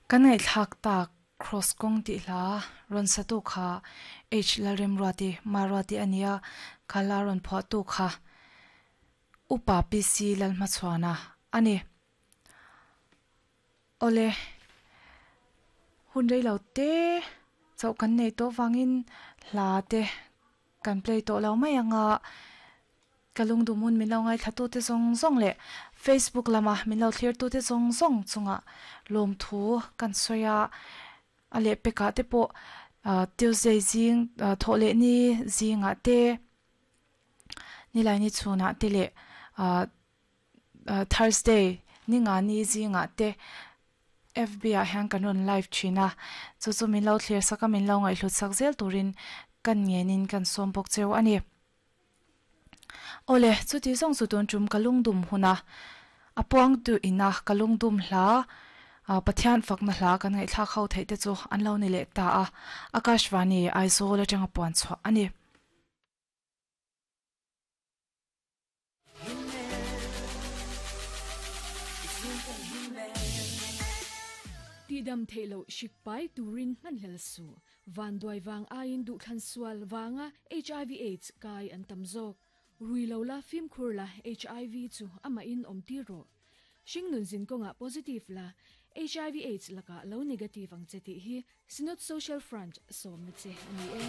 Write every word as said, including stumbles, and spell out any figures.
Kan ngaihthlak tak Kraws kawng tih hla rawn satu kha H Lalremruati Maruati a nia, kha hla rawn phuahtu kha Upa P C Lalhmachhuana a ni. Awle, hun rei lo te chauh kan nei tawh vangin hla te kan play tawh lo mai ang a, ka lungdum hun min lo ngaithla tute zawng zawng leh Facebook lama min lo thlir tute zawng zawng chungah lawmthu kan sawi a, a lehpekah te pawh Tuesday zing thawh leh ni zingah te, Nilaini chhunah te leh Thursday ni nga ni zingah te F B ah hian kan rawn live thin a, chu chu min lo thlir sak a, min lo ngaihhlut sak zel turin kan ngenin kan sawm bawk cheu a ni. Awle, chuti zawng chu tun tum ka lungdum huna a puang tu ina ka lungdum hla Pathian fakna hla kan ngaihthlak ho theih te chu an lo ni leh ta a, Akashvani Aizawl atanga puan chhuah a ni. Tihdam theih loh hrik pai turin hmanhlel suh. Vanduai vang aiin duhthlan sual vanga H I V AIDS kai an tam zawk. Rui lo la fimkhur la H I V chu amahin awm tir rawh. Hringnun zin kawngah positive la H I V AIDS lakah lo negative ang che tih hi Synod Social Front sawmna che a ni e.